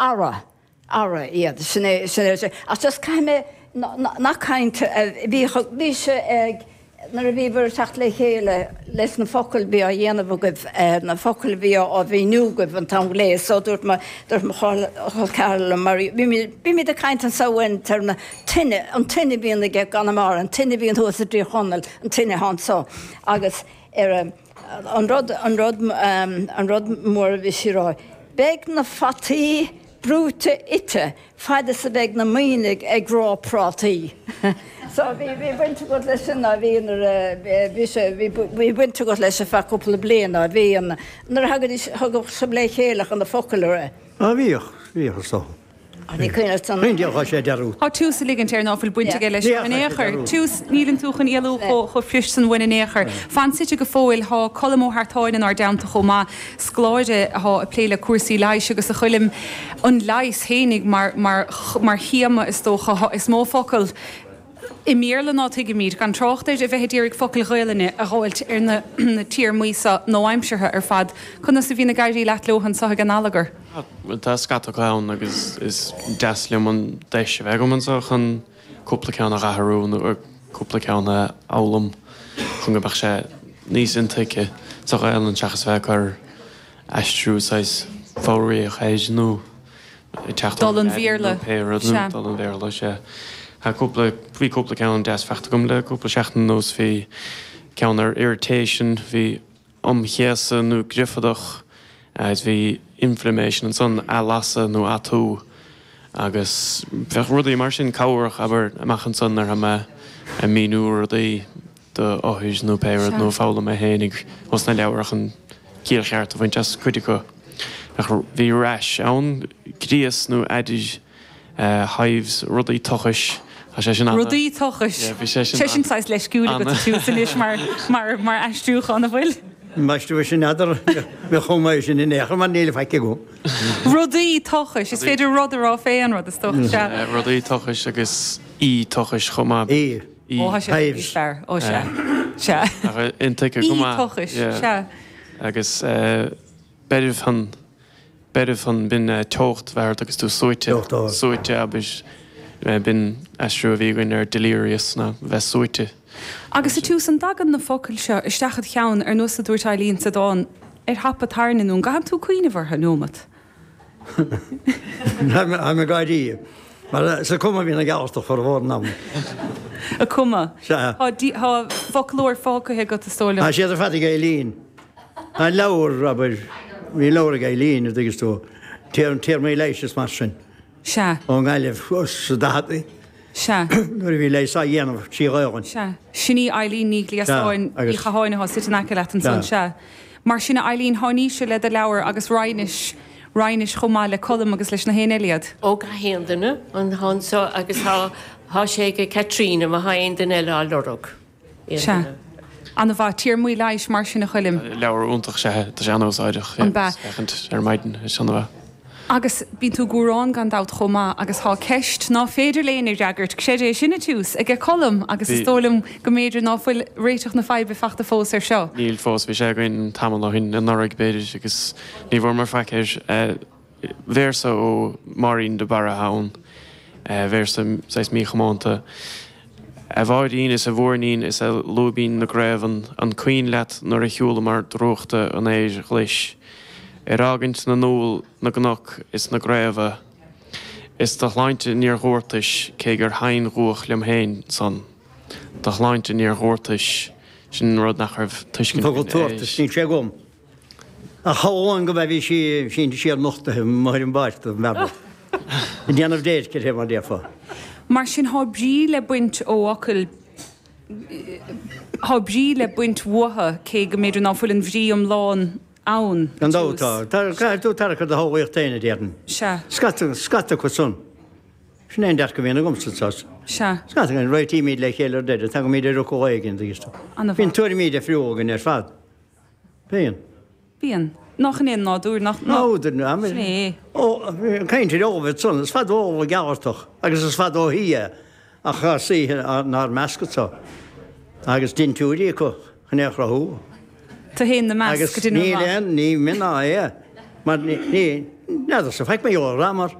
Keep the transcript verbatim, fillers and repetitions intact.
Ara, ara iad, sin é, sin é, sin. Ach just caithfidh mé nach caint, bhí, bhí sé ag, nuair a bhíobhair ag teacht le chéile leis na focail bhí á dhéanamh agaibh, na focail bhí á mhíniú agaibh an t-am glé, so dúirt mo, dúirt mo chol ceathrar liom mar bhímid, bímid ag caint anso uainn téarma tine, an tine a bhíonn aige i gConamara, an tine a bhíonn thuas i dTír Chonaill, an tine atá anso agus ar an rud, an rud, an rud mór a bhí sí a rá, beidh na fataí brúite ite fad is a bheidh na maonaigh ag rá prátaí. So bhí bhí baint agat leis sin ná bhí nuair a bhí sé bhí bhí baint agat leis ar feadh cúpla bliain ná bhí an nuair a thagaidís thugadh sibh le chéile chun na focail a rá. Á bhíodh, bhíodh is dócha. Ní cuimhin leat an. Ní dheachaigh sé dearúd. Tá tús a ligint air ná fuil baint aige leis Ní in dheachaigh aon sé chor. dearúd. Tús, níleann tú chun éalú chomh fuirist san uainn in aon chor. Fan suite go fóill, thá Colm Ó hEartáin inár dteannta chomh maith, scoláire athá ag plé le cúrsaí leighis agus a Choilm, an leigheas fhéinig mar, mar, mar théama is dócha, thá, is mó focal i mBéarla ná tuigimid, gan trácht ar a bheith ag iarraidh focail Ghaelainne a dh'fháilt ar na, na téarmaí so nua-aimseartha ar fad. Conas a bhíonn ag éirí leat leo anso ag an Allagar? Tá scata acu ann agus is deas liom an deis a bheith agam anseo chun cúpla ceann a dh'athrú nó cúpla ceann a fhoghlaim chun go mbeadh sé níos intuigthe sa Ghaelainn seachas bheith ag cur aistriú saghas foghraíoch air nó ag teacht Dul ón an Laidin nó Bhéarla, pé rud nó sea. dul an Bhéarla, sea. Tá cúpla, bhí cúpla ceann deas faighte agam le cúpla seachtain anuas, bhí ceann ar irritation, bhí umchéasadh nó griofadach agus bhí inflammation ansan, athlasadh nó atú agus bheadh rudaí mar sin cabhrach, abair, amach ansan nuair atá mé ag míniú rudaí do othair nó pé rud Sea. nó foghlaim mé fhéinig ós na leabhair chun ciall cheart a bhaint as cuid acu. Ach bhí rash ann, gríos nó aidir, hives, rudaí tochais, tá sé sin ana. Rudaí tochais. Yeah, bhí sé sin Sé sin saghas leisciúil agat ana. tús anois mar, mar, mar aistriúchán, an bhfuil? M'aistriú sin n'fheadar, bheadh chomh maith sin in aon chor mar níl faic agam. Rudaí tochais, is féidir rud a rá fé an rud is dócha, sea. Rudaí tochais agus í tochais chomh maith. Í. Í. Ó, tá sé Hives. níos fearr. Ó, sea. Sea. Ach intuigthe go Í maith. tochais, Yeah. sea. Agus beirbhthonn, beirbhthonn, b'in teocht bheith ort agus tú suaite, Teocht ard. suaite abair, b'in aistriú a bhí againn ar delirious ná bheith suaite. Agus sa tús, an dtagann na focail seo isteach id cheann ar nós a dúirt Eileen sa dán, ar thapa tairne nó an gcaitheann tú cuimhneamh orthu nóimeat? Tá mé gáirí. Mar sa cuma bhíonn ag Gearaltach formhór an ama. A cuma. Sea. Tá dí- tá foclóir fágtha agat is dóigh liom. Tá siad ar fad ag Eileen. Tá leabhar, abair, bhí leabhar ag Eileen, a dtuigeas tú, téarmaí leighis is mar sin. Sea. Ón nGaillimh sa daicheadaí. Sea. Nuair a bhí leigheas á dhéanamh trí Ghaelainn. Sea. Sin í Eileen Ní Ghliasáin, Sea, agus- Uí Chatháin atá suite in aice leat ansan, Sea. sea. Mar sin a Eileen, tháiníse le do leabhar agus roinnis, roinnis chomh maith le Colm agus leis na héinne eile iad. Ó gach aon duine an t-am so agus tá, tá sé ag Caitríona má thá aon duine eile á lorg. Aon Sea. duine. An-mhaith. Téarmaí leighis mar sin a Choilm. Leabhar iontach sea, tá sé an-úsáideach. An b'ea? Féachaint ar maidin, is an-mhaith. Agus bíonn tú ag gúrán gan dabht chomh maith agus thá ceist ná féidir l'éinne a fhreagairt, creid é sin a tús, aige Colm agus is Bhí. dóigh liom go mb'fhéidir ná fuil réiteach na faidhbe fachta fós ar seo. Níl fós, bhí sé againn tamall ó shin, anuraidh b'fhéidir, agus ní bhfuair mé faic air. Véarsa ó Máirín de Barra atá ann, véarsa saghas míchomónta. A Mháirín is a mhúirnín is a lúibín na gcraobhann, an cuimhin leat nuair a shiúlamar drúchta an fhéir ghlais, ar fhágaint na n-úll, na gcnoc is na gcraobha, is do shláinte níor dhúrtais cé gur shain-dhúch liom féin san. Do shláinte níor dhúrtais, sin rud nach raibh tuiscint Focal againn air. tabhartais, níl sé agam. Ach amháin go mbeidh bhí sí sínte siar nochtaithe amuigh ar an bpáirc don bhealach. Ag déanamh déirce uirthi mar déarfá. Mar sin thá brí le baint ó fhocail, thá brí le baint uathu cé go mb'fhéidir ná fuil an bhrí iomlán ann. Gan dabht tá. Tá, caithfidh tú tarrac ar do shamhlaíocht féin a déarfainn. Sea. Scata, scata acu san. Sin é an dearcadh a bhíonn agamsa sas. Sea. Scata againn, réitímid le chéile ar deireadh, tagaimid ar fhocal éigin, tuigeann tú. An-mhaith. Bíonn tuairimí difriúla againn ar fad. Bíonn. Bíonn. Nach in é an nádúr, nach, ná. Nádúr, ná. Sin é. Ó, caint ar Eochaidh san, is fada ó Ghearaltach agus is fada ó thuaidh é, ach tá saoithe nár measc anso agus dintiúirí acu chun é a chruthú. Tú féin 'na measc, Agus go deimhin níl amach. aon ní mé ná é. Mar ní, ní, n'fheadarsa faic mar gheall air, mar.